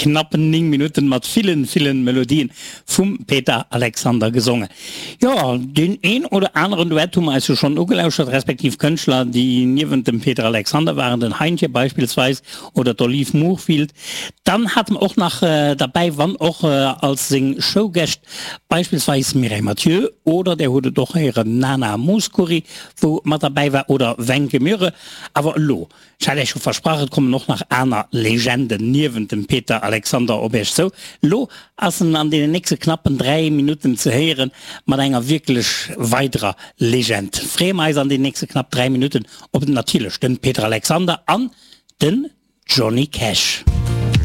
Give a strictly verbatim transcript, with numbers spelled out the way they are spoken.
knappen néng Minutten mat villen, villen Melodien vum Peter Alexander gesongen. Jo, deen een oder aneren Duett hu mer eis jo schonn ugelauschert, respektiv Kënschtler, déi niewent dem Peter Alexander waren, den Heintje beispillsweis oder d'Olive Moorfield. Dann hate mer och nach derbäi, wann och als seng Showgäscht, beispillsweis Mireille Mathieu oder, där hutt et och héieren, Nana Mouskouri, wou mat derbäi war, oder Wencke Myhre. Awer elo Ech hat Iech scho versprach, et kommen och nach aner Legenden niewent dem Peter Alexander op Iech zou. Elo ass en an deenen nächste knappen dräi Minutten ze héieren mat enger wierklech weiderer Legend. Freeë mer eis an deenen nächste knapp dräi Minutten op natierlech de Peter Alexander an den Johnny Cash.